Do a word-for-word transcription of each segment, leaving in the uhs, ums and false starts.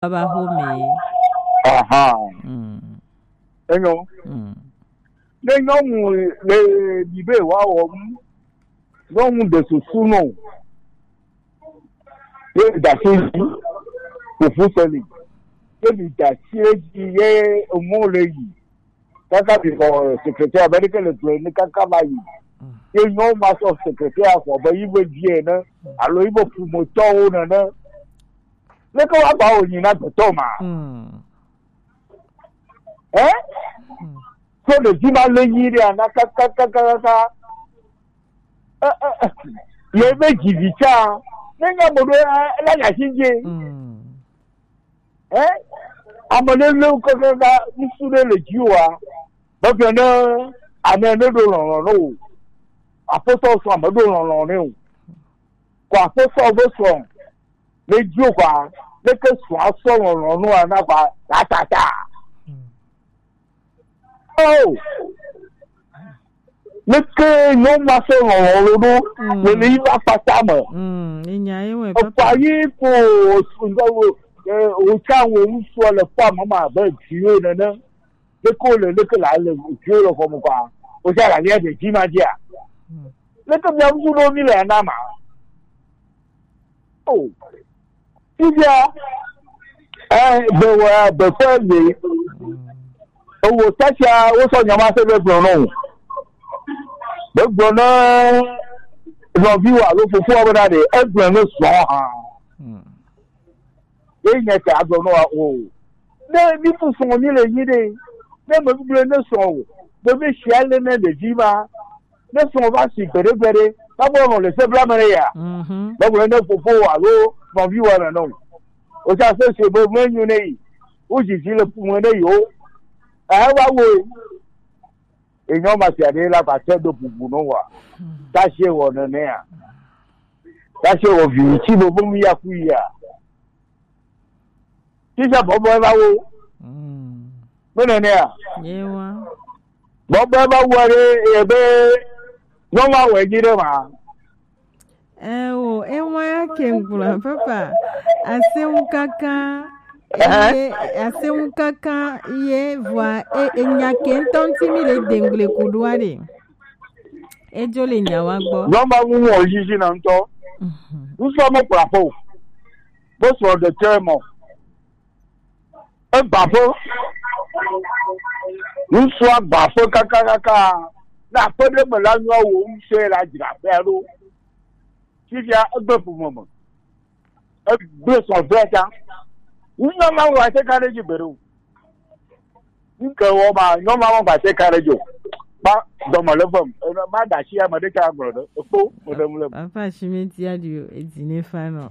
Baba xome. Aha. Mm. Enyo. Mm. Ne nyɔnu le bibe wa wɔ nu, nyɔnu ɖe susu nɔ. Ye da si dzi, fufu seli. Ye mi da si dzi ye emɔ le yi. Kaka bi xɔ secrétaire be ɖeke le gblɔe ne kaka va yi. Ye nyɔnu ma sɔ secrétaire xɔ be yi be vie ne, alo yi be ƒometɔwo nene. Leke wa ba wo nyi na gbetɔ ma? Mm. Eh? Mm. So ɖevi ma le nyi ɖe ana kakakakaka. Eh, eh, eh. Ye be dzi vi tsa. Ne nya mo ɖo, eh, la nya si dzi. Mm. Eh? Ame ɖe le kakaka ŋsu ɖe le dzi wa. Be ne ame ne ɖo lɔlɔ̃ ne o. Aƒetɔ sɔ ame ɖo lɔlɔ̃ ne o. Ko aƒetɔ be sɔ. Le dzi o kɔa, leke srɔ̃a sɔ lɔlɔ̃ nua na kɔa, tatata. Oh, leke nyɔnu ma sɔ lɔlɔ̃ lo ɖo, mm, le le yi va kpata me. Mm, enya ye wɛ, ekɔa papa. Yi ko o, o, o, o tsa wo ŋusɔ le kpɔ ame ma abe viwo nene. Leke wole, leke la le viwo le xɔme kɔa? Wozã la lia de dzi ma dzia? Hmm. Leke mia ŋutsu ɖo mi le na ma? Oh. Fifia, eh, be wa, be fe le. Hmm. Ewo tasia, wo sɔ nyama se be gblɔ nɔ. Be gblɔ na nɔvi wa alo fofo wa be na de, egblɔ ne sɔ ha. Hmm. Ye nye ta agblɔ nɔ wa o. Ne mi fu srɔ̃ mi le nyi ɖe, ne me gblɔ ne srɔ̃ o, be mi sia le ne ɖevi ma, ne srɔ̃ va si gbeɖe gbeɖe, na bo nɔ le se bla me ne ya. Mhm. Be gblɔ ne fofo alo nɔvi wa nɔ. O sa se se be me nyu ne yi. O zizi le fu me ne yo. Eh, wa wo. Enyɔ ma sia ɖe la va te do bubu no wa. Tasie wɔ nenea. Tasie wɔ vi tsi bo bo mi ya ku ya. Tisa bɔbɔ eva wo. Mm. Me nenea. Ye wa. Bɔbɔ eva wo ɖe ebe nyɔnu awɔe nyi ɖe ma. Ewo, ewa ya ke ŋgblɔ, papa. Aseŋu kaka, eye, aseŋu kaka, ye, vɔa, e, enya ke ŋutɔ ŋuti mi le dengble ku ɖoa ɖe. Edzo le nya wa gbɔ. Nyɔnu awu wɔ yiyi na ŋutɔ. Mhm. Ŋutɔ mo kpla fo. Bo sɔ de tɛ mɔ. Egbaƒe. Ŋutsua gbaƒe kakakaka. Ne aƒe ɖe me la nyɔ wo ŋusẽ la dzra aƒea ɖo. Fifia egbe ƒome me. Egbe sɔ vɛ ta. Ŋutsua ma wɔ ase ka ɖe dzi gbeɖe o. Ŋke wɔ ma nyɔ ma wɔ ba se ka ɖe dzo. Ba dɔme le vem. Ene ma da si ame ɖe ka gblɔ ɖe. Ekpo mo ɖe mu le. Papa Shimenti adio edzi ne fa nɔ.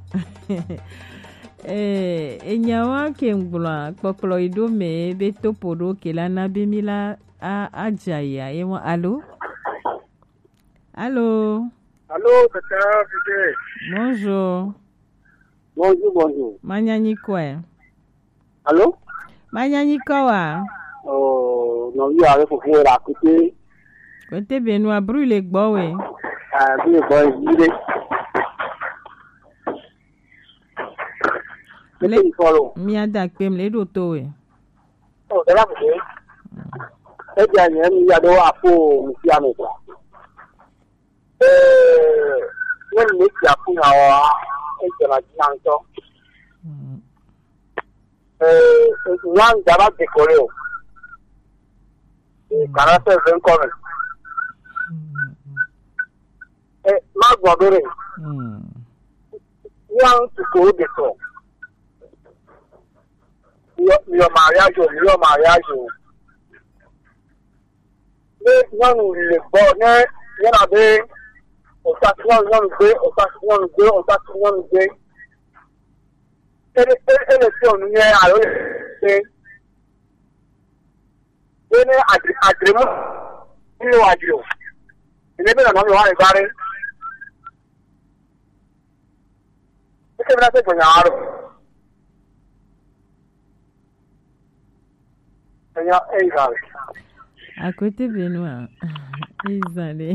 Eh, enyawa ke ŋgblɔa, kpɔkplɔ yi ɖo me be topo ɖo ke la na be mi la a, a dza ya, ye mo, alo? Alo? Alo, tata, tete. Bonjour. Bonjour, bonjour. Manya nyi kɔe. Alo? Manya nyi kɔ wa? Oh, non, il y a le fofo la côté. Côté Benoît, bruit le gbɔ we. Ah, bruit le gbɔ, il est. Le, mi ada kpem le ɖo to we. Oh, ela kuku. Eja nye mi ya ɖo aƒo mi fia me kɔ. Eh, ne mi fia ku na wa, eja na dzi na ŋutɔ. Mm. Eh, nya ŋda va de kɔ le o. Eh, mm. Kana se ve ŋkɔ me. Mm. Eh, ma gbɔ ɖo ɖe. Mm. Nya ŋutsu ko de sɔ. Miyɔ, miyɔ mariage o, miyɔ mariage o. Ne nyɔnu le gbɔ, ne yɔna be, osasi nyɔnu, nyɔnu gbe, osasi nyɔnu gbe, osasi nyɔnu gbe. Ele, ele, ele fiɔ nu nyɛ alo le se. Ye ne adre, adre mu, ne wa dzi o. Ne be nɔnɔ mi wa le gba ɖe. Eke mi na se gbenya wa ɖo. Enya, eyi va le. Akwete Benoît, eyi zã ɖe.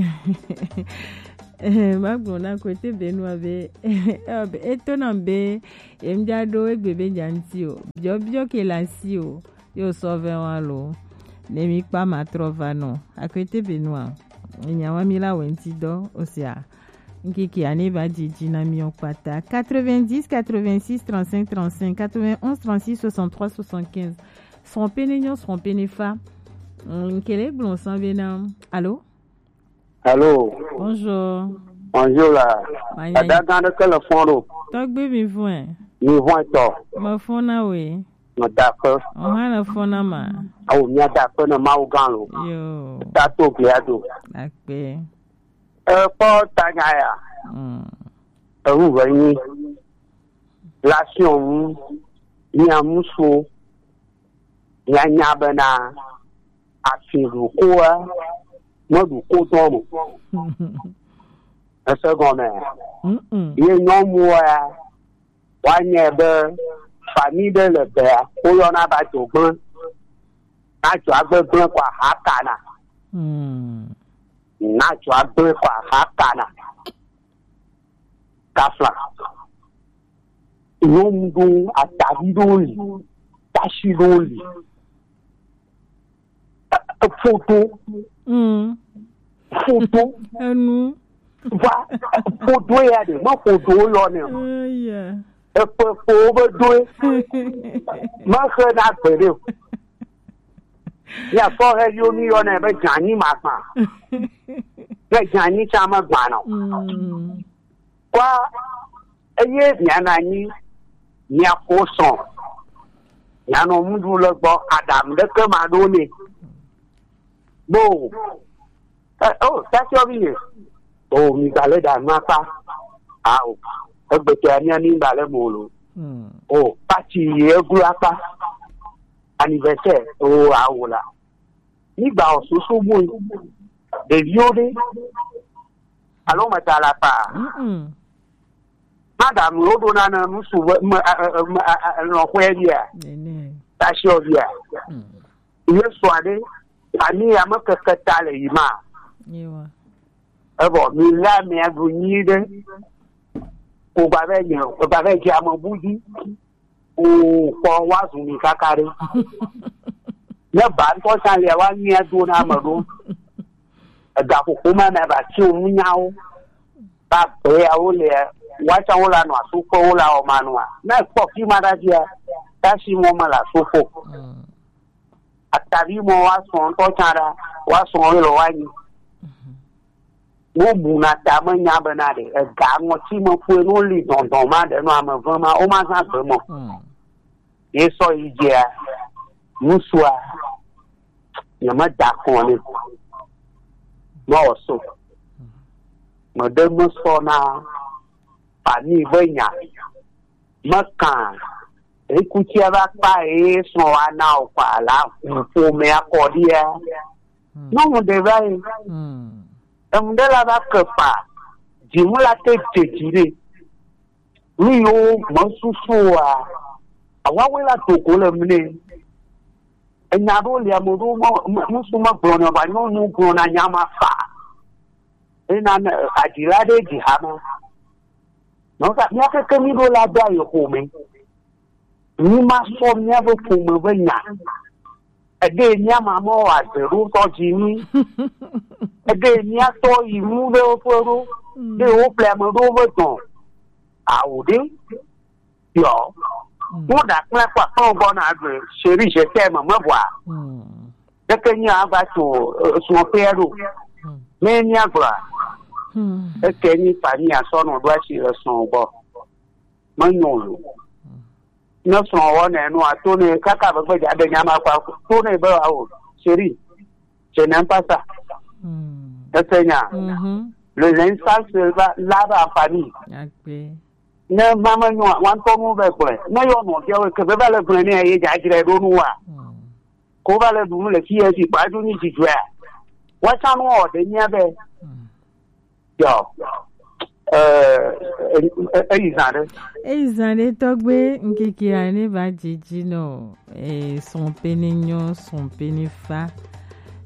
Magblɔ na Akwete Benua be, eto nam be yemdza ɖo egbe be dza ŋuti o. Biɔbiɔ ke le asi o. Yo sɔ vɛ wa lo. Ne mi kpa ma trɔ va nɔ. Akwete Benua. Nya wa mi la wɛ ŋuti dɔ osia. Nkeke ane ba dzidzi na mi o kpata. Quatre-vingt-dix, quatre-vingt-six, trente-cinq, trente-cinq, quatre-vingt-onze, trente-six, soixante-trois, soixante-quinze. Srɔ̃ pene nyɔ, srɔ̃ pene fa. Mm, nkele gblɔ sã be na. Allô? Allô? Bonjour. Bonjour la. Manya. Dada gã ɖe ke le fɔn ɖo. Tɔgbi mi vɔe. Mi vɔe tɔ. Me fɔn na we. Me da akpe. O hã le fɔn na ma. Awo mia da akpe na Mawu gã lo. Yo. Ta to glia do. Akpe. E kpɔ tanya ya. Mm. Ewu ve nyi. La fiɔn ŋu. Mia musuo. Mianya bena afi ɖokoa meɖu ko dɔn o. Ese gɔme? Mm-mm. Ye nyɔnuwo ya, woanyae be fami ɖe le bea, woyɔna be adzogblẽ. Na adzɔagbe gblẽ ko aha kana. Mm. Na adzɔagbe ko aha kana. Tafla. Nyɔnu ɖo, atavi ɖo li, tasi ɖo li. E-, e-, foto. Mm. Foto. Enu. Va, foto ya ɖe, me foto yɔ ne o. Eh, yeah. Eƒe ƒowo be doe. Mexe na gbe ɖe o. Mia sɔ he yo mi yɔ ne be dzanyi ma gba. Ne dzanyi tsa me gba nɔ. Mm. Kwa eye mia na nyi mia ko sɔn. Mia nɔ muɖu le gbɔ adam ɖeke ma ɖo ne. Bo. Eh, oh, tasi obi ye. Oh, mi gba le da nua kpa. Ah, oh. Egbe to ya mia mi gba le mo lo. Hmm. Oh, pati ye glu akpa. Anniversaire. Oh, ah, oh la. Mi gba o susu bu. Ɖeviwo ɖe. Alo me ta la pa. Mm-mm. Madam, wo ɖo na ne nusu me, me, eh, eh, me, eh, eh, lɔ̃xɔe bia. Nene. Tasi o bia. Mm. Yesu aɖe, ami ya mekeke ta le yi ma. Yewa. Evɔ, mi lé amea ɖu nyuie ɖe. Wògba vɛ nye, wògba vɛ dze ame bu dzi. O, kpɔ, woazu mi kaka ɖe. Ne ba ŋutɔ tsã lia, woanyuia do na ame ɖo. Egaƒoƒo ma me ba tsi wo nunyawo. Ba gbe ya wo le, woatsã wo la nɔ asu kpe wo la wɔ ma nua. Ne kpɔ fi ma ɖa dzia, tasi mɔ me le asu ƒo. Mm. Atavi mɔ wa srɔ̃ ŋutɔ tsã ɖa, wa srɔ̃ wo le wa nyi. Mhm. Wo buna ta me nya bena ɖe ega ŋɔti me ƒoe no li dɔndɔn ma ɖe no ame ve ma, wo ma zã gbe mɔ. Mm. Ye sɔ yi dzia, ŋusua, nye me da kɔn ne. Me wɔ so. Me ɖe me sɔ na fami be nya. Me kan. Ekutia va kpa ye srɔ̃ wa na o kpa la ƒomea kɔ ɖia. Hmm. Nyɔnu ɖe va yi. Hmm. Enu ɖe la va ke kpa. Dzimu la te dze dzi ɖe. Nu yiwo mesusu oa, awawe la do go le mli. Enya ɖewo li ame ɖewo me, me, ŋutsu megblɔna o, vɔa nyɔnu gblɔna nya ma fa. Ena ne, eh, adzila ɖe dzi hame. Nɔsa, mía keke mí ɖo la do ayi xome. Mí ma sɔ mía ƒe ƒome ƒe nya. Eɖe mía ma mɔ wɔ adze ɖo tɔ dzi mí. Eɖe mía tɔ yi nu ɖe woƒe ɖo. Mm. Ɖe wo ƒle ame ɖewo ƒe dɔn. Awo ɖe. Yɔ. Mm. Wo ɖa kple kpakpɔ gbɔ na ɖe. Chérie, je t'aime, me bɔa. Mm. Eke nyi agba tso, eh, srɔ̃ƒea ɖo. Hmm. Ne míagblɔa, hmm, eke nyi famille asɔ nɔ ɖo asi le srɔ̃ gbɔ. Menyo o. Hmm. Ne srɔ̃ wɔ nɛ nua, to ne kaka be gbe dza be nya ma kɔ to ne be, awo, chérie, je n'aime pas ça. Hmm. Ese nya. Mhm. Le linge sale se lave en famille. Agbe. Ne ma menyo, wa ŋutɔ nu be gblɔe. Ne yɔ nɔviawo ke be va le gblɔe ne ye dza dzre ɖo nu wa. Hmm. Ko va le ɖu nu le fi ye si kpa dzo nyi dzidzɔa. Woatsã nu wɔ ɖe mía be. Mm. Yɔ. Eh, eh, eh, eyi zã ɖe. Eyi zã ɖe tɔgbe ŋkeke ya ne va dzidzi nɔ, eh, srɔ̃ pe ne nyɔ, srɔ̃ pe ne fa.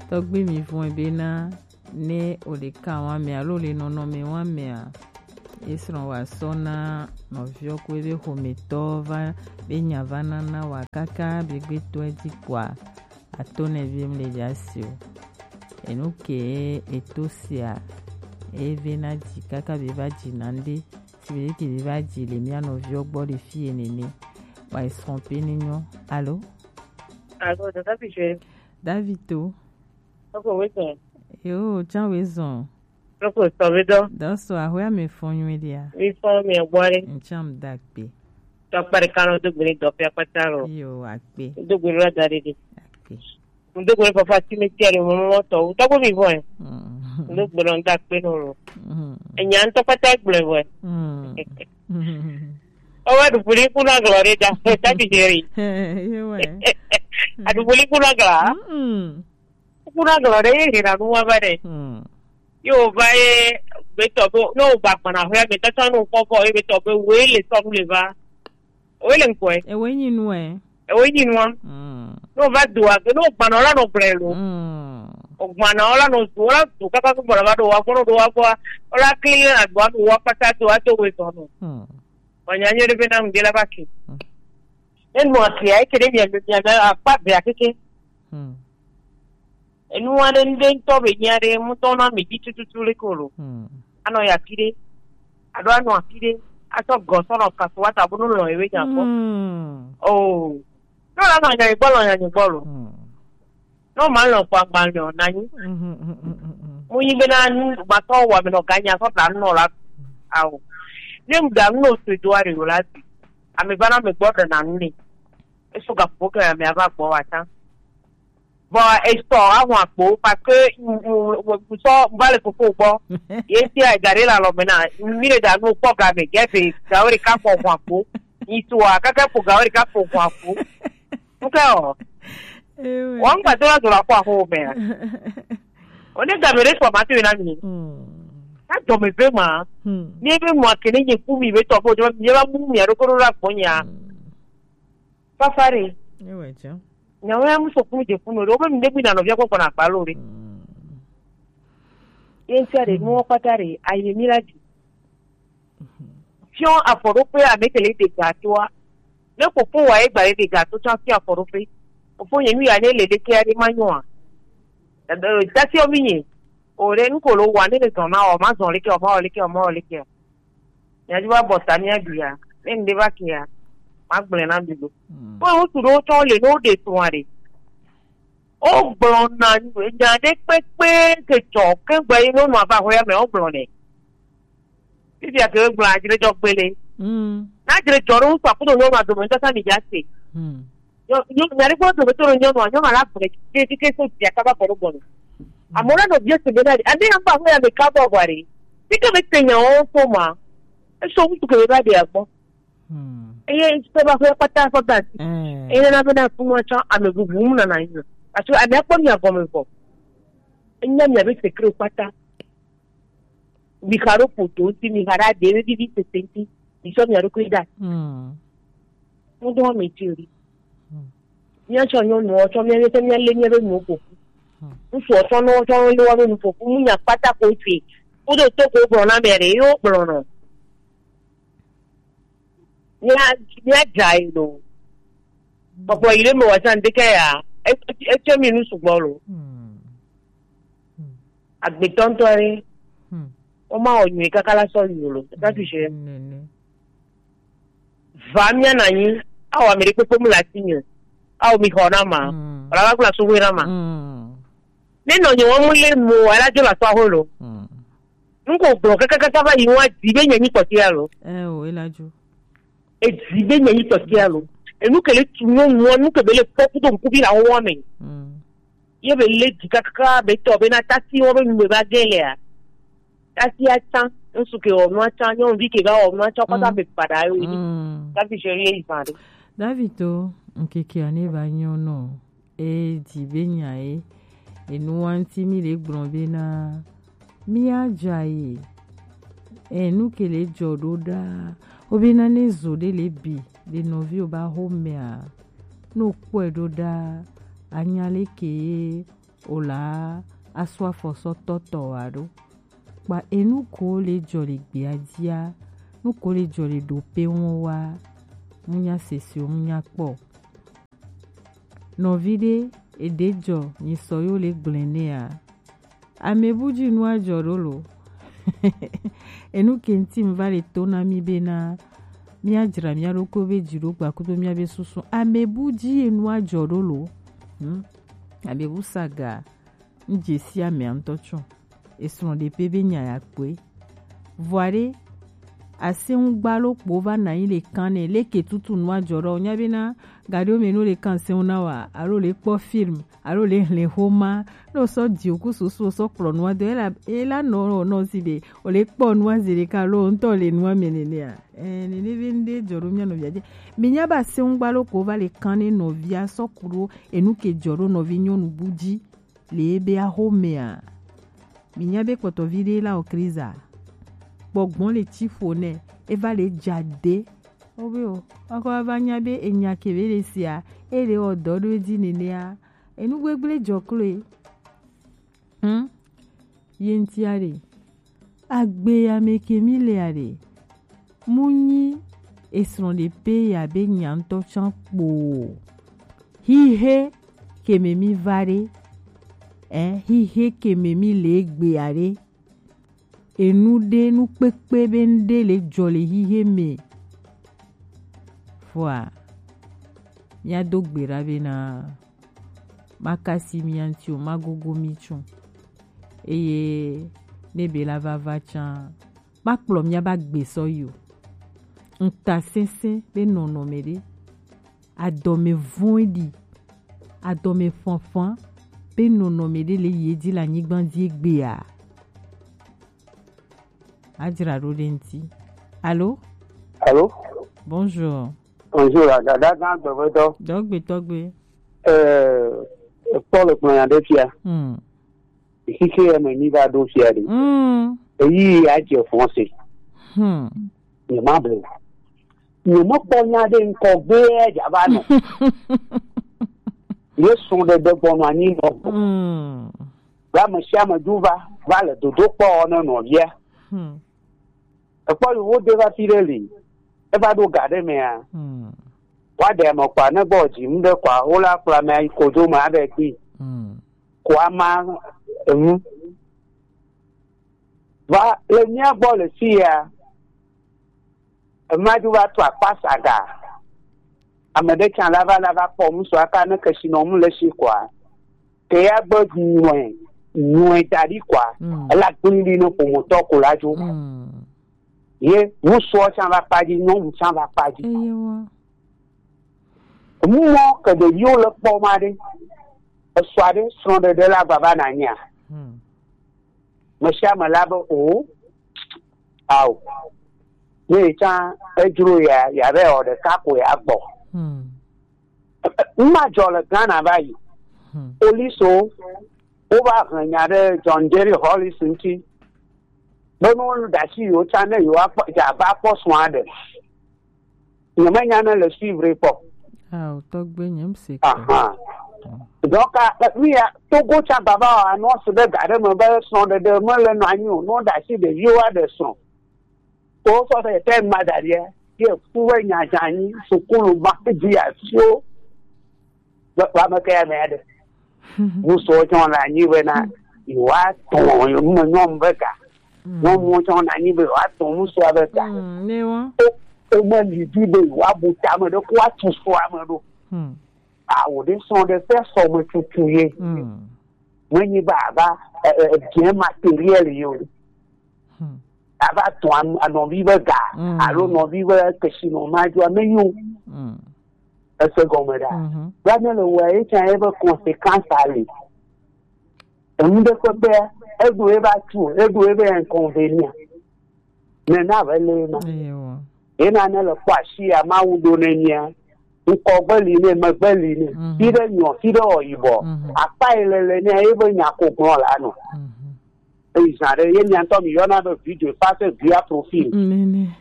Tɔgbe mi vɔe bena ne o le kan wa mɛ alo le nɔnɔmɛ wa mɛ a, e srɔn wa sɔ na nɔviɔ ko ebe xomɛtɔ va be nya va na na wa kaka be gbe to edzi kpoa, ato ne bi mle dza si o. Enu ke eto sia, e ve na dzi kaka be va dzi na nde, si be ke be va dzi le mia nɔviɔ gbɔ le fi enene. Wa e srɔn pe ni nyɔ. Alo? Alo, dada bi je. David to. Oko wezɔn. Yo, can wezɔn. Oko sɔ be dɔ. Dɔ sɔ, ahwe ame fɔn nyuie dia. Mi fɔn mi gbɔ re. Ncam da kpe. Tɔ kpari kan do gbere dɔ fia kpata ro. Yo, akpe. Do gbere la da re de. Akpe. Ndo gbere papa ti mi ti are mo mo to. To ko mi vo e. Mm. Ndo gbere nda pe no ro. Mm. Enya nto pata gbere vo e. Mm. O wa du puli kuna glore da. Ta bi jeri. Yo we. A du puli kuna gla. Mm. Kuna glore ye na nu wa ba de. Mm. Yo va ye be to bo no ba pana ho ya be ta ta no ko ko ye be to be we le so le va. Owe le ŋkɔe. Ewe nyi nuɛ. Ewe nyi nua. Mm. No va do age, no gbana la no gblɛ lo. Mm. O gbana la no do la do kaka ko gbana va do wa gbɔna do wa gbɔ. Ola kli na do wa do wa pata do wa do we zɔn no. Mm. Wa nya nyere be na ŋde la ba ke. Mm. En mo akia e kede mi mi mi akpa be akeke. Mm. Enu aɖe ŋɖe ŋutɔ be nyi aɖe ŋutɔ na mi dzi tututu le ko lo. Hmm. Anɔ ya fi ɖe, aɖo anɔ afi ɖe, asɔ gɔ sɔ nɔ kasu wa ta bo no lɔ ewe nya kpɔ. Hmm. Oh. No la nɔ nya gbɔ lɔ nya gbɔ lo. Hmm. No ma lɔ kpɔ agba lɔ na nyi. Hmm, hmm, hmm, hmm, hmm. Mo nyi be na nu gbatɔ wa me nɔ ganya sɔ ta nu nɔ la. Awo. Ne ŋda nu no se do are yo la bi. Ame va na me gbɔ ɖe na nu ne. Eso ga fo ke ame ava gbɔ wa ta. Bon, esɔ ahun akpo parce que ŋsɔ va le fofo gbɔ. Ye sia egare la lɔ mena. Mi le da nu kpɔ ga me gɛfe gawo ɖeka fɔ hun akpo. Ŋsua kaka fo gawo ɖeka fo hun akpo. Ŋkɛ o. Ewe. Wɔn gba do la do la kɔ aho me. O ne ga me ɖe sɔ ma to na mi. Hmm. Na dɔ me ve ma. Hmm. Mi ve mo akene nye ku mi ve tɔ fo jɔ mi va mu mi aɖo ko ɖo la gbɔ nya. Hmm. Fafare. Ewe jɔ. Nyawo ya muso kunu je kunu ɖe, wo be mi ɖe gbi na nɔvia kpɔkpɔ na akpa lo ɖe. Mm. Ye ŋutia ɖe, nuwo kpata ɖe, ayi mi la dzi. Fiɔ afɔɖoƒe ame ke le de ga toa. Ne kpokpo wa ye gba ye de ga to tsɔ fiɔ afɔɖoƒe. Kpokpo nye nu ya ne le ɖeke aɖe ma nyɔa. Ebe, tasiɔ mi nye. O ɖe, nu ko lo wa ne le zɔn na o, ma zɔn leke o, ma o leke o, ma o leke o. Miadzo va bɔ ta mia bia. Ne ŋɖe va kea, magblẽ na mi ɖo. Mm. Kpɔ ŋutsu ɖewo tsɔ le ne woɖe srɔ̃a ɖe. Wogblɔna nya ɖe kpekpe ke dzɔ ke gbe yi nyɔnua va aƒea me wogblɔnɛ. Fifia ke wogblɔ adzredzɔgbe le. Mm. Na adzredzɔ ɖe ŋutsu akudo nyɔnua dome ŋutɔ sa mi dza se. Mm. Nyɔ-, nyɔ-, nya ɖe gbɔ dome to nyɔnua, nyɔnua la gblẽ ke ke ke so via kaba kɔ ɖo gbɔnɔ. Amewo la nɔ vie se be na ɖe. Ade ya ŋutɔ aƒea me ka bɔ gwa ɖe. Fike me te nyawo to ma. Eso ŋutsu ke be va ɖe agbɔ. Hmm. Eye ŋutsu ke va ƒe kpata fɔ da si. Hmm. Eye na be na funu atsɔ ame bubu mu nana yi. Parce que ame akpɔ mia gɔme vɔ. Enya mia be secret kpata. Mi xa ɖo poto ŋuti, mi xa ɖo aɖe be vivi sese ŋuti. Mi sɔ mia ɖokui da. Hmm. Ŋudɔ me ti o ɖi. Hmm. Míatsɔ nyɔnuwo tsɔ mía míatsɔ míalé míaƒe nuwo ƒo ƒu. Hmm. Ŋutsuwo tsɔ nɔ tsɔ lé woƒe nu ƒo ƒu. Ŋunya kpata ko te. Woɖo to ko gblɔ na mea ɖe yewo gblɔ nɔ. Mía míadza yi lo. Kpɔkpɔ yi ɖe me wòatsɔ ŋdeke ya. E- e- Etsɔ mi nu sugbɔ lo. Hmm. Hmm. Agbetɔ ŋutɔ ɖe. Hmm. Woma wɔ nyui kaka la sɔ yi lo. Esa tu se. Nene. Va mía na anyi, awɔ ame ɖe kpekpe mu le asi nyo. Awɔ mi xɔ na ma. Mm. Wala va kula suwe na ma. Mm. Ne nɔ nyo wɔmu le mo, ala jo la sɔ aho lo. Mm. Nuko gblɔ kakakaka va yi wa di be nye nyi kpɔtia lo. Eh, o, ela jo. E di be nye nyi kpɔtia lo. Enu ke le tu nyɔnua, nu ke be le kpɔ kudo ŋku bi la wo wa me. Mm. Ye be le di kakaka be tɔ be na tasi wo be nu be va gɛ lea. Tasi atsa, ŋsu ke wɔ nu atsa, nyɔnuvi ke va wɔ nu atsa, kɔta be kpaɖa yo yi. Mm. Tasi se ye yi va ɖe. David to, ŋkeke ane va nyɔ nɔ. E di be nya ye. Enu wa ŋti mi le gblɔ be na mi adza ye. Enu ke le dzɔ ɖo ɖa. Wo be na ne zo ɖe le bi, le nɔvi wo ba xo mea. No kpɔe ɖo ɖa, anya le ke ye. O la asu afɔ sɔ tɔtɔ wa ɖo. Kpa enu ko le jɔ le gbea jia, nu ko le jɔ le ɖo pe wɔn wa, mu nya sese o, mu nya kpɔ. Nɔvi ɖe, eɖe jɔ, nyi sɔ yo le gblẽ nɛ a. Ame bu ji nu ajɔ ɖo lo. Enu ke ŋuti mi va le to na mi be na, mia jra mia ɖokui be ji ɖo gba kudo mia be susu. Ame bu ji enu ajɔ ɖo lo. Hmm? Ame bu saga. Ŋ je si amea ŋutɔ tsɔ. Esrɔ̃ɖeƒe be nya ya kpɔe. Vɔa ɖe, asẽŋugba lɔ kpo va nɔ anyi le kan nɛ, leke tutu nua jɔ ɖɔ, nya bena gaɖewo me no le kan sẽŋu na wa, alo le kpɔ film, alo le hlẽ xoma, ne wosɔ di oku susu wosɔ kplɔ nua do, ela, ela nɔ, nɔ zi ɖe, o le kpɔ nua zi ɖeka, alo ŋutɔ le nua me nenea. Ɛɛ, nene be ŋɖe jɔ ɖo mia nɔvia dzi. Mi nya ba sẽŋugba lɔ kpo va le kan nɛ nɔvia sɔ ku ɖo, enu ke jɔ ɖo nɔvi nyɔnu bu dzi. Le ebe axomea, mi nya be kpɔtɔvi ɖe la o kriza. Gbɔgbɔ le tsi ƒo nɛ, eva le dza de. Obe o, akɔ ava nya be enya ke be le sia, e le wɔ dɔ ɖo edzi nenea, enu gbegble dzɔ kloe. Hm? Ye ŋutia ɖe, agbe ya me ke mi lea ɖe, mu nyi esrɔ̃ɖeƒe ya be nya ŋutɔ tsã kpo o. Xixe ke me mi va ɖe, ɛ, xixe ke me mi le egbea ɖe, enu ɖe, nu kpekpe be ŋɖe le jɔ le xixe me. Vɔa, mia do gbe ɖa bena, makasi mia ŋuti o, magogo mi tso. Eye ne be la vava tsã, makplɔ miaba gbe sɔ yi o. Ŋutasesẽ be nɔnɔme ɖe, adɔme vɔ̃ɖi, adɔme fanfan be nɔnɔme ɖe le yi edzi le anyigba dzi egbea. Adzra ɖo ɖe ŋuti. Alo? Alo? Bonjour. Bonjour, la dada gã gbɛgbɛdɔ. Dɔgbe tɔgbe. Ɛɛ, Paul gblɔ nya ɖe fia. Hmm. Xixi ya me mi va ɖo fia ɖe. Hmm. Eyi ya dze fɔse. Hmm. Nye ma ble. Nye me kpɔ nya ɖe ŋkɔ gbe ya dza va nɔ. Ye sɔ̃ ɖe ɖe gbɔnɔ anyi nɔ. Hmm. Be ame sia ame dzo va, va le dodo kpɔ ne nɔvia. Hmm. Ekpɔ yovo de va fi ɖe li. Eva ɖo ga ɖe mea. Hmm. Wa ɖe ame kpa ne gbɔ dzi mu ɖe kpa wo la kpla me ayi kodo me aɖe gbi. Hmm. Kua ma enu. Va le mía gbɔ le fi ya. Ema dzo va tu akpa saga. Ame ɖe tsã la va, la va kpɔ ŋusua ka ne kesinɔnu le si kɔa, ke ya gbe nyɔe, nyɔe da ɖi kɔa, mm, ela gblẽ ɖi ne ƒometɔ ko la dzo. Mm. Ye ŋusua tsã va kpa dzi, nyɔnu tsã va kpa dzi. Eye wa. Mɔ ke ɖeviwo le kpɔ ma ɖe, esɔ aɖe srɔ̃ɖeɖe la gbava nanya. Hmm. Ame sia ame la be o, ao. Ne yi tsã edzro ya, ya be wɔ ɖeka ko ya gbɔ. Hmm. Ema dzɔ le Ghana va yi. Hmm. Police wo, wova hlẽ nya ɖe John Jerry Hollis ŋuti. Be ne woɖe asi yewo tsã ne yewoakpɔ, dze abe akpɔ srɔ̃a ɖe. Nyemenya ne le suivre kpɔ. Ah, tɔgbe nye mse kpɔ. Aha. Donc, a, e, mi ya, Togo tsã baba o, annonce ɖe ga ɖe me be srɔ̃ɖeɖe mele nɔ anyi o, ne woɖe asi ɖeviwo aɖe srɔ̃. Ko sɔ se te ma da ɖia, ye fu be nya dza anyi, sukulu ma dzi asiwo. Be, be ame ke ya me aɖe. Ŋusɔ tsɔ le anyi be na, yewoa tɔ, yewo me nyɔnu be ga. Mm. Nyɔnuwo tsɔ le anyi be yewoa tɔ ŋusɔa be ga. Mm, ne wa. O, o me li di be yewoa bu tame ɖe ko atu sɔa me ɖo. Hmm. Awo ɖe srɔ̃ɖeƒe sɔ me tutu ye. Hmm. Menyi be ava, e, e, e, bien matériel ye o. Hmm. Ava tɔ an-, anɔvi be ga, hmm, alo nɔvi be kesinɔ ma dzo ame yi o. Hmm. Ese gɔme ɖa. Mhm. Gblɔ ne le wɔa, ye tsã ye be conséquence ali. Enu ɖe ƒe be eɖo ebe atu, eɖo ebe inconvénient. Nena be le ema. Ewa. Ye na ne le kpɔ asi ya Mawu ɖo ne nyia. Ŋkɔgbe li ne, megbe li ne. Mhm. Fi ɖe nyɔ, fi ɖe wɔ yibɔ. Mhm. Akpa yi le le ne ye be nya ko gblɔ la nɔ. Mhm. Eyi zã ɖe ye mia ŋutɔ mi yɔna be video face via profil. Nene.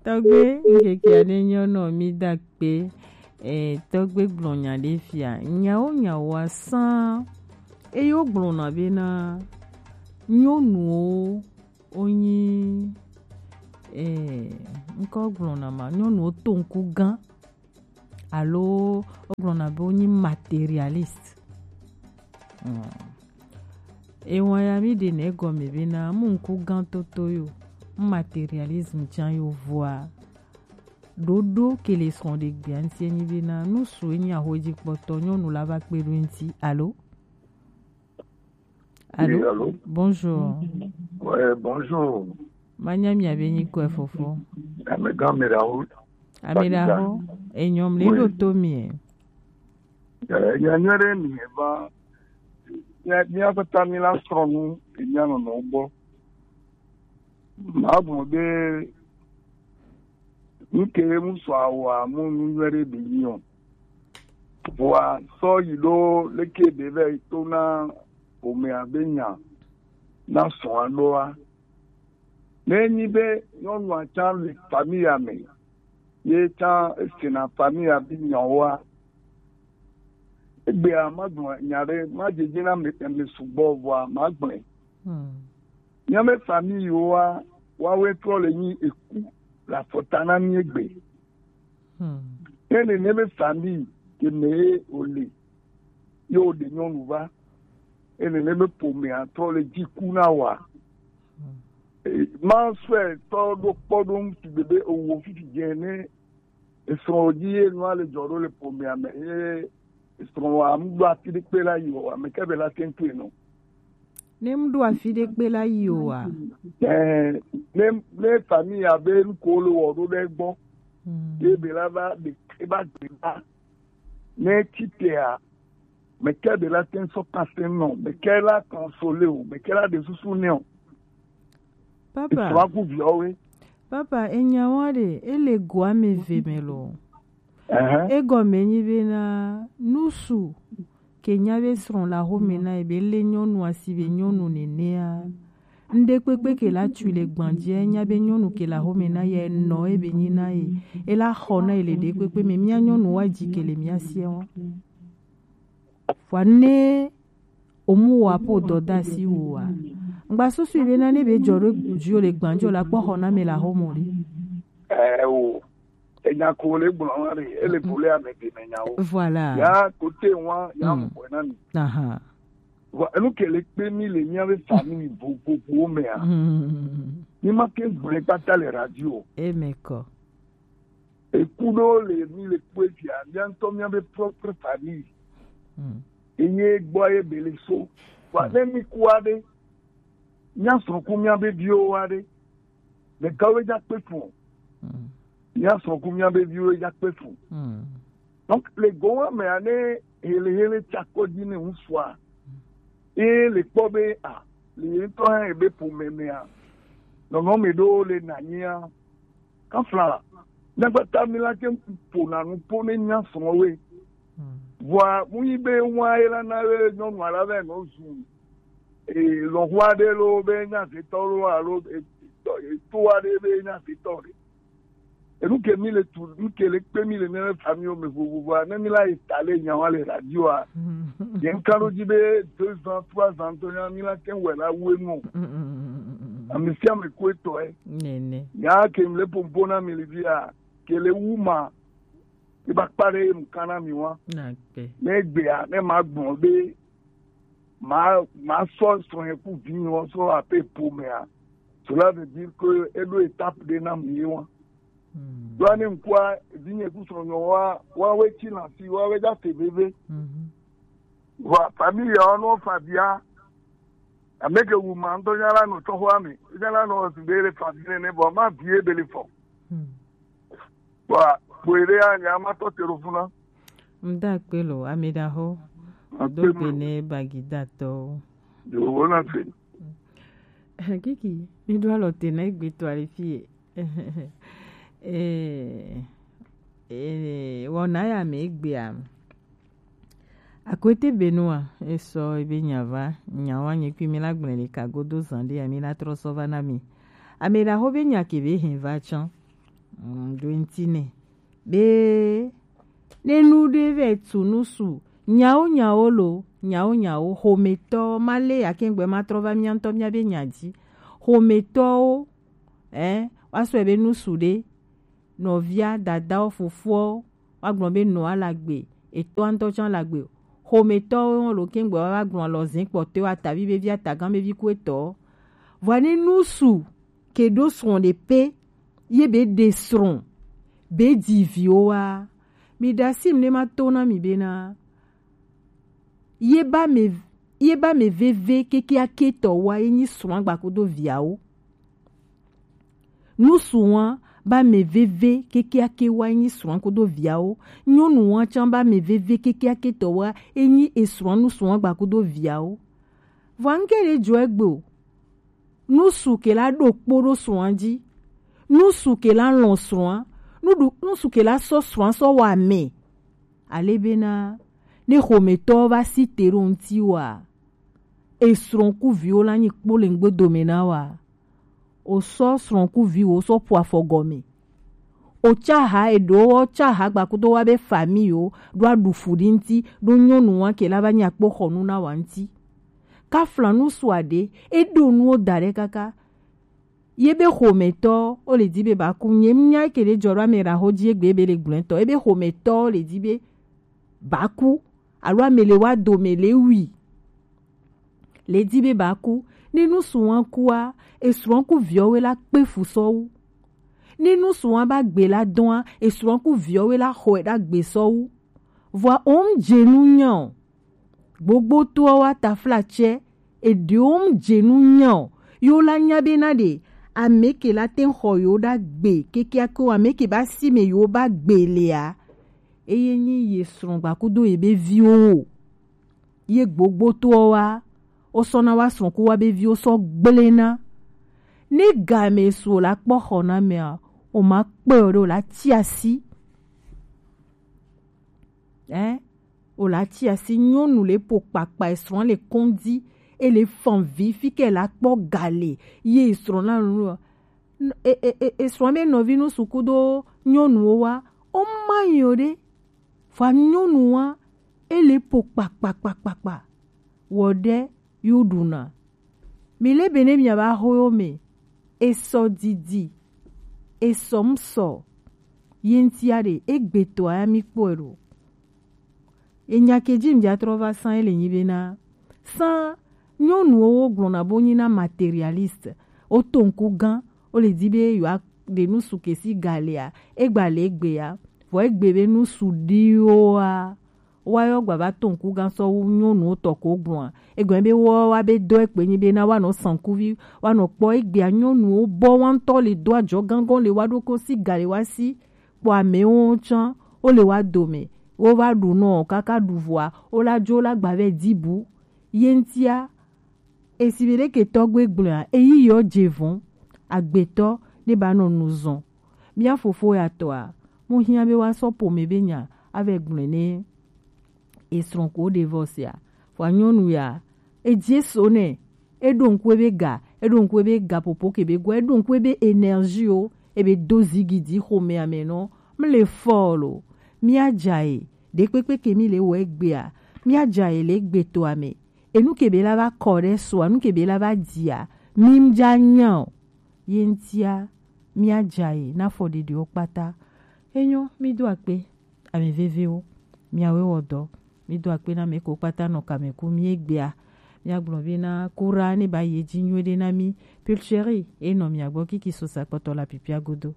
Tɔgbe, ŋkeke aɖe nyɔ nɔ mi da kpe. Eh, tɔgbe gblɔ nya ɖe fia. Nyawo nyawoa sã. Eye wogblɔna bena nyɔnuwo wonyi, eh, ŋkɔ gblɔna ma, nyɔnuwo to ŋku gã alo wogblɔna be wonyi materialiste. Hmm. Ewa ya mi ɖe nɛ gɔme bena mu ŋku gã toto yo, mu materialisme can yo vɔa. Ɖoɖo ke le srɔ̃ ɖe gbea ŋuti enyi bena nu su enyi ahoedzikpɔtɔ nyɔnu la va kpe ɖo ŋuti alo? Allô? Oui, allô? Bonjour. Ouais, bonjour. Manya mia be nyi kɔe fofo. Amegã Mirawo. Amedaho, enyɔm le Oui. Ɖo to mie. Eh, nya nyuie ɖe mi va. Mia, mia kpata mi la srɔ̃ nu, mia nɔnɔ gbɔ. Ma gblɔ be nu ke mu sɔ awa mu nu nyuie ɖe be nyi o. Vɔa sɔ yi ɖo leke be vɛ to na ƒomea be nya na srɔ̃a ɖoa. Ne enyi be nyɔnua tsã le famille me, ye tsã esena famille be nyawoa, egbea magblɔ nya ɖe, madzedze na ame, ame sugbɔ vɔa magblɔe. Hmm. Míaƒe famille yiwoa, woawoe trɔ le nyi eku le afɔta na mí egbe. Hmm. Ne nene be famille ke me ye wòle, ye wòɖe nyɔnu va. Ye nene be ƒomea trɔ le dzi ku na wòa. Hmm. E, ma sɔe tɔ ɖo kpɔ ɖo ŋuti be, be ewɔ fifi dze ne esrɔ̃ dzi ye nua le dzɔ ɖo le ƒomea me, ye esrɔ̃ wa mu ɖo afi ɖe kpe la yi o, ame ke be la te ŋu toe nɔ. Ne mu ɖo afi ɖe kpe la yi o wa? Eh, ne, ne famille abe nu ko le wɔ ɖo ɖe gbɔ, Hmm. ye be la va ɖe, e va gbe va. Ne tsi tea, me ke be la te ŋu sɔ kase nɔ, me ke la consoler o, me ke la ɖe susu nɛ o. Papa. Esrɔ̃a ku viawo we. Papa, enya wa ɖe, ele go ame eve me lo. Ɛhɛn. Egɔme nyi bena nusu ke nya be srɔ̃ le axome na ye be le nyɔnu asi be nyɔnu nenea, ŋɖe kpekpe ke la tui le gbadzia, nya be nyɔnu ke le axome na ye nɔ ebe nyi na ye, e la xɔ na ye le ɖe kpekpe me. Mía nyɔnu wa dzi ke le mía sia wa. Vɔa ne omu wa po dɔdasi wo wa. Ŋgba susu be na ne be dzɔ ɖo dzio le gbadzio la kpɔ xɔ na me la xɔ mo ɖe. Eh, o. Enya ko le gblɔ wa ɖe, ele Hmm. ko le ame de me nyawo. Voilà. Ya ko te wa, ya Hmm. mo ko na mi. Aha. Vɔ, enu ke le kpe mi le mía be famille vovovowo mea. Hmm. Mi ma ke gblɔe kpata le radio. Eme kɔ. Eku ɖewo le mi le kpɔe fia, mía ŋutɔ mía be propre famille. Hmm. Enye gbɔ ye be le so. Vɔ Hmm. ne mi ku aɖe, mía srɔ̃ ku mía be viwo aɖe. Ɖekawo dza kpe fun o. Mm. Mía srɔ̃ ku mía be viwo dza kpe fun. Mm. Donc, le gowa mea ne hele hele tsakɔ dzi ne ŋutsua, ye le kpɔ be, a, le ye ŋutɔ hã ebe ƒome mea, nɔnɔme ɖewo le nanyia, kafla, ne gbata mi la ke ƒona nu ƒo ne mía srɔ̃woe. Mm. Vɔa, mu yi be wa ye la na be nyɔnua la vɛ nɔ zu, e, lɔ̃xo aɖe loo be nyazetɔ loo alo, e, to, e, to aɖe be nyazetɔ ɖe. Enu ke mi le tu, nu ke le kpe mi le míaƒe famiwo me vovovoa, ne mi la yi ta le nyawa le radioa, ye ŋka ɖo dzi be deux ans, trois ans tɔ nya mi la te wɛ la wu enu o. Ame sia ame ko etɔe. Nene. Nya ke mi le pompo na mi le via, ke le wu ma, e ba kpa ɖe enu ka na mi wa. Na gbe. Ne egbea, ne ma gbɔn be ma, ma sɔ srɔ̃ ku vinyewo sɔ ape ƒomea. Cela veut dire que eɖo étape ɖe na mi wa. Hmm. Ɖoa ne ŋkua vinye ku srɔ̃nyɔ wa, wa we tsi na si, wa we dza te veve. Mhm. Wa famille ya no fa bia. Ame ke wu ma ŋutɔ nya la nɔ tsɔxɔa me. Nya la nɔ si be le fa vi nene, vɔ ma vie be le fɔ. Hmm. Wa, kpoe ɖe ya nya ma tɔ te ɖo funa. Ŋda kpe lo, ame ɖaho. Akpe Do mo. Gbe ne bagidatɔwo. Yo, wo na fe. Kiki, mi ɖo alɔ te na egbe to ali fie. Eh, eh, wɔna ya me egbea. Akwete Benua, esɔ ebe nya va, nya wa nye kui mi la gblẽ le ka godo zã ɖe ya mi la trɔ sɔ va na mi. Ame ɖaho be nya ke be hɛn va tsã. Mm, ɖo ŋuti nɛ. Be ne nu ɖe vɛ tu nu su Nyawo nyawo lo, nyawo nyawo, xometɔwo, ma lé akɛngbɛ ma trɔ va mía ŋutɔ mía be nya dzi. Xometɔwo, ɛ, wa sɔe be nusu ɖe, nɔvia, dadawo, fofowo, wa gblɔ be nɔa la gbe, etɔa ŋutɔ tsã la gbe. Xometɔwo lo kɛngbɛ wa va gblɔ alɔ zɛn kpɔtɔe wa tavi be vi atagã be vi ku etɔ. Vɔa ne nusu ke ɖo srɔ̃ ɖe pe, ye be ɖe srɔ̃, be dzi viwo wa. Mi ɖe asi mi ne ma to na mi bena, ye ba me, ye ba me veve kekeake tɔ wa ye nyi srɔ̃ agba kudo viawo. Nusu wa ba me veve kekeake wa ye nyi srɔ̃ kudo viawo. Nyɔnu wa tsã ba me veve kekeake tɔ wa ye nyi esrɔ̃ nusu wa gba kudo viawo. Vɔa ŋke ɖe jɔ egbe o. Nusu ke la ɖo kpo ɖo srɔ̃a dzi. Nusu ke la lɔ̃ srɔ̃a. Nuɖu, nusu ke la sɔ srɔ̃a sɔ wa mɛ. Ale bena, ne xometɔwo va si te ɖo ŋti wa, esrɔ̃ ku viwo la nyi kpo le ŋgbe dome na wa. O sɔ srɔ̃ ku viwo sɔ ƒo afɔ gɔme. O tsaha eɖewo tsaha gbakudo wa be famille yo ɖo aɖu fu ɖi ŋti ɖo nyɔnu wa ke la va nyi akpoxɔnu na wa ŋti. Kafla nusu aɖe, e ɖo nuwo da ɖe kaka. Ye be xometɔ, wo le di be ba ku. Nye ŋu nya ke ɖe jɔ ɖo ame ɖa xo dzi egbe be le gblɔe tɔ. Ye be xometɔ le di be ba ku. Alo ame le wa dome le wi. Le di be ba ku. Ne nusu wa kua, esrɔ̃ ku viɔwe la kpe fu sɔ wu. Ne nusu wa ba gbe la dɔa, esrɔ̃ ku viɔwe la xɔe ɖa gbe sɔ wu. Vɔa o ŋ dze nu nya o. Gbogbotoa wa taflatsɛ, eɖewo ŋ dze nu nya o. Yo la nya be na ɖe, ame ke la te xɔ yo ɖa gbe, kekeake o, ame ke ba si me yo ba gbe lea. Eye nyi ye srɔ̃ gbakudo ye be viwo o. Ye gbogbotoa wa, o sɔ na wa srɔ̃ ku wa be viwo sɔ gblena. Ne game su o la kpɔ xɔ na mea, o ma kpe o ɖe o la tsi asi. Ɛ, o la tsi asi nyɔnu le po kpakpa esrɔ̃ le kɔndi, e le fan vi fi ke la kpɔ gale ye esrɔ̃ la nu e, e, e, esrɔ̃ be nɔvi nu suku do nyɔnuwo wa, o ma yi o ɖe. Fa nyɔnu wa, e le po kpakpakpakpakpa. Wɔ ɖe yo ɖuna. Mi le be ne mia ba xo yo me, esɔ didi, esɔ ŋsɔ, ye ŋtia ɖe, egbe tɔ ya mi kpɔe ɖo. Enya ke dzi ŋdza trɔ va sã ele nyi be na sã nyɔnuwo wo gblɔna bo nyi na matérialiste. Wo to ŋku gã, wo le di be yewoa ɖe nu su ke si galea, egba le egbe ya. Vɔ egbe be nu su ɖiwoa, wa yɔ gba va to ŋku gã sɔ wu nyɔnuwo tɔ ko gblɔa. Egbe be wo wa be dɔ ekpe nyi be na wa nɔ sankuvi, wa nɔ kpɔ egbea nyɔnuwo bɔ wa ŋutɔ le do ajɔ gãgɔ le wa ɖo ko si gale wa si. Kpɔ amewo tsã, wo le wa dome, wo va ɖu nɔ kaka ɖu vɔa, wo la dzo la gba vɛ di bu. Ye ŋtia, esi be ɖeke tɔgbe gblɔa, eyi yɔ dze vɔn, agbetɔ ne ba nɔ nu zɔn. Mía fofo ya tɔa, mo hiã be wa sɔ ƒome be nya, ave gblɔe ne esrɔ̃ ko ɖe vɔ sia. Vɔa nyɔnu ya, edze so nɛ, eɖo ŋku ebe ga, eɖo ŋku ebe ga popo ke be gua, eɖo ŋku ebe énergie o, ebe do zigidi xomea me nɔ, mle fɔ lo, mía dza ye, ɖekpekpe ke mi le wɔ egbea, mía dza ye le egbe toa me, enu ke be la va kɔ ɖe soa, nu ke be la va dzia, mi dza nya o, ye ŋtia, mía dza ye na fɔ ɖeɖewo kpata. Enyo, mi do akpe. Ame veviwo, miawoe wɔ dɔ. Mi do akpe na ame ko kpata nɔ kame ku mi egbea. Mia gblɔ be na kura ne ba yi edzi nyuie ɖe na mi. Pulchérie, e nɔ mia gbɔ kiki sosa kpɔtɔ la pipia godo.